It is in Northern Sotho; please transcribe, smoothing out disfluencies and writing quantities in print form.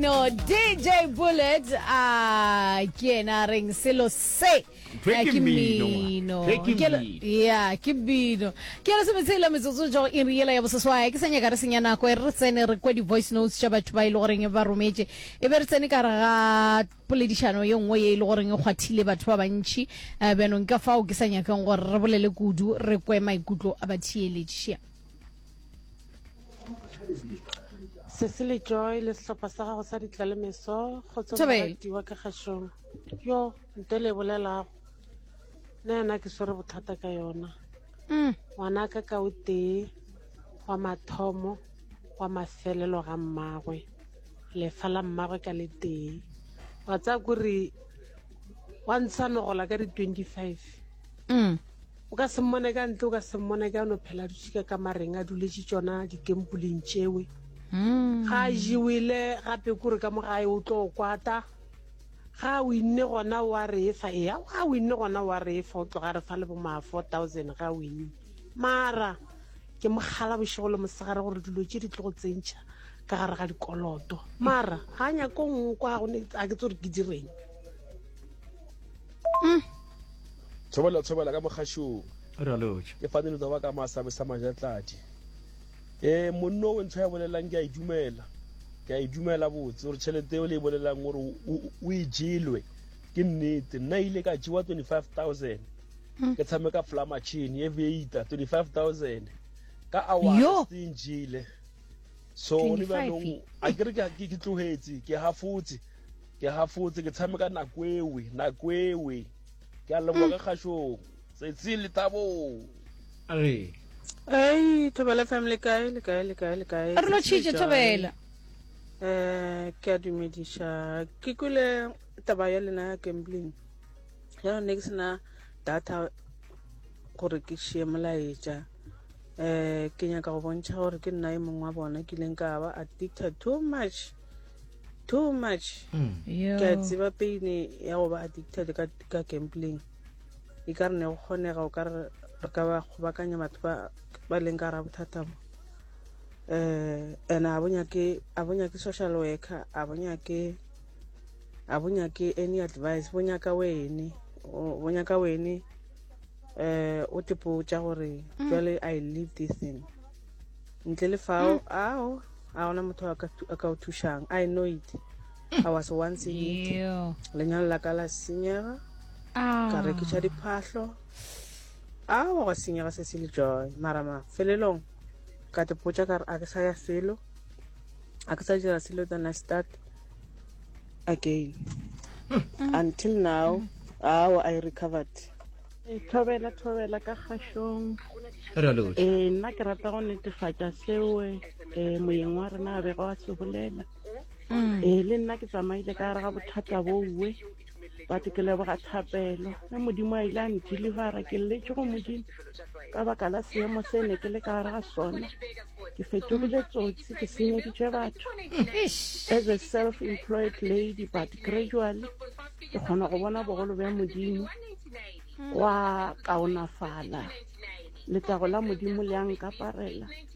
mmino DJ Bullet a ke yena a reng selo se Ntho e Eh, ke ke mmino, mmino Ntho e ke Ke le- mmino. ya ke mmino ke lesometshela metsotso jo iri yela ya boseswai ke sa nyaka re senya nako e re re tsene re kwe di-voice notes tša batho ba e le goreng ba rometše e be re tsene ka re ga poledišano ye nngwe ye e le goreng e kgwathile batho ba bantši um bjanong ka fao ke sa nyakeng gore re bolele kudu re kwe maikutlo a batheeletši Cecily Joy le sehlopha sa gago sa ditlalemeso kgotso Thobela. moratiwa ka kgašong yo nto le e bolelago nna yena ke swere bothata ka yona Mm. ngwanaka ka o tee wa mathomo wa mafelelo ga mmagwe lefa la mmagwe ka le tee wa tsaya kore wa ntsha nogola ka di-25 Mm. O ka se mmone ka ntle, o ka se mmone ka no phela a dutše ka kamareng a duletše tšona dikempuleng tšewe. Ga a jewele gape kore ka mo gae o tlo kwata. Ga a winne gona o a re efa, eya ga a winne gona o a re efa, o tloga a re fa le bo ma 4000 ga a winne. Mara ke mo kgala bošego le mosegare gore dilo tše di tlo go tsentšha ka gare ga dikoloto. Mara ga a nyake go nkwa, ga ke tsebe gore ke direng. Thobela thobela ka mogašong. Re a lotšha. Ke fane lotsa wa ka masabe sa majatladi. Eh monno o ntho ya bolelang ke a e dumela. Ke a e dumela botse gore tšhelete eo le e bolelang gore o e jelwe ke nnete. Nna ile ka jewa 25000. Hmm. Ke tshameka fla machine e veita 25000 ka hour se njile. So ne ba nong a ke re ke ke tlohetse ke hafotse ke hafotse ke tshameka nako ewe nako ewe Ke a leboga ka kgašong. Setsi lethabo. Re. Ei, Thobela FM le kae le kae le kae le kae? Re lotšhitše Thobela. Eh, ke a dumediša. Ke kwele taba ya lena ya gambling. Ya ne ke sena data gore ke šie molaetša. Eh, ke nyaka go bontšha gore ke nna e mongwe wa bona ke ileng ka ba addicted too much. too much mm. ke a tseba pain ya go ba addicted ka, ka gambling e ka re ne go kgonega o ka re re ka ba kgobakanya batho ba ba leng ka ra bothata bo um and a bo nyake a bo nyake social worker a bo nyake a bo nyake any advice bo nyaka wene bo nyaka wene um o tepotša gore mm. jwale i leave this thing Ntle le fao, mm. ao, a gona motho a ka o thušang. I know it. I was once in it. Lenyalo la ka la senyega. Ah. Ka rekiša diphahlo. Ao, gwa senyega se se le joy. Mara mafelelong, ka te potša ka re a ke sa ya felo. A ke sa dira selo then I start again. Mm. Until now, mm. ao, I recovered. Thobela thobela ka kgašong. Re a lotšha. Ee, nna ke rata go netefatša seo eh, moyeng wa rena a bego a se bolela. Mm. Ee, le nna ke tsamaile ka gare ga bothata bowe but ke leboga thapelo ge modimo a ile a ndelivera ke lletše go modimo ka baka la seemo se ne ke le ka gare ga sona ke fetogile tsotsi ke senyeditše batho Eish. as a self-employed lady but gradually ke kgona go bona bogolo bja modimo gwa kaonafala letago la modimo le a nkaparela.